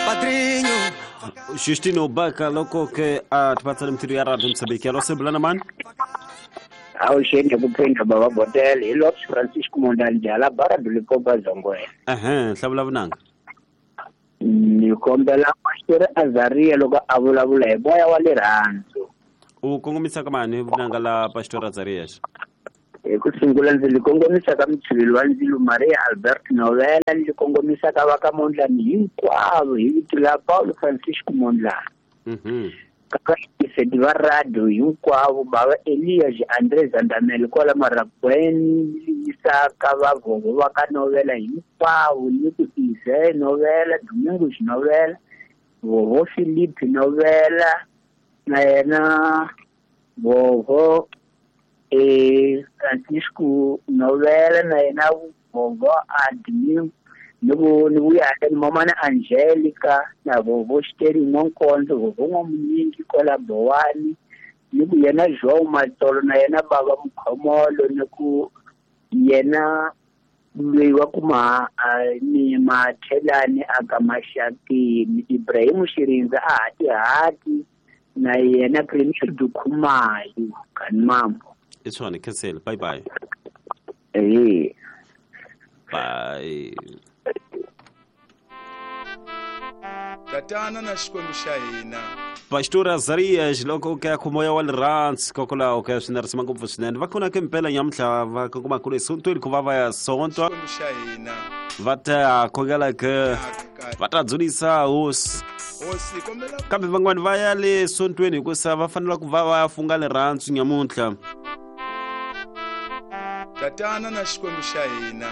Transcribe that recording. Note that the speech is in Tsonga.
Padrinho. Justino Baka loko ke a tipatsana mithiro ya Radio Mozambique. Alo sebulana mani? Avuxeni hi ku phinda bava Botel hi Lopes Francisco Mondlane Jala Bara Dulipopa Zongwena. Ehe, hlavula vunanga. Ni kombela Pastor Azaria loko a vulavula hi moya wa rirhandzu. U kongomisa ka mani vunanga la Pastor Azarias? Hi ku sungula ndzi li kongomisa ka mutshiveli wa ndzilo Maria Albert Novela, ni li kongomisa ka va ka Mondlane hinkwavo hi vito la Paulo Francisco Mondlane. Ka vayimiseti va radio hinkwavo bava Elias Andre Zandamel kwala Maragweni, ni yisa ka vavovo va ka Novela hinkwavo, ni ku Ize Novela, Domingos Novela, Vovo Philip Novela, na yena Vovo Francisco Novela, na yena Vovo Admin, ni ku ni vuya ni mamana Angelica na Vovo Xiteri N'wankonzo, Vovo N'wamunyingi kwala Bowani, ni ku yena João Matolo na yena Baba Mukhomolo, ni ku yena loyi wa ku ma ni Mathelani aka Maxakeni, Ibrahim Xirindza a hatihati, na yena Premier Dukhumayo Kanimambo. I swona, cancel. Bye bye. Eh. Bye. Tatana na Xikwembu xa hina. Pastor Azarias loko ke ku moya wa rirhandzu kokwalaho ke swi narisima ngopfu swinene va kona ke mpela nyamuntlha va kongoma kule esontweni ku va va ya sontwa Xikwembu xa hina. va ta khongela ke va ta dzunisa hosi Hosi kombela kambe van'wani va ya le sontweni hikusa va fanele ku va va ya funga rirhandzu nyamuntlha. Tatana na Xikwembu xa hina.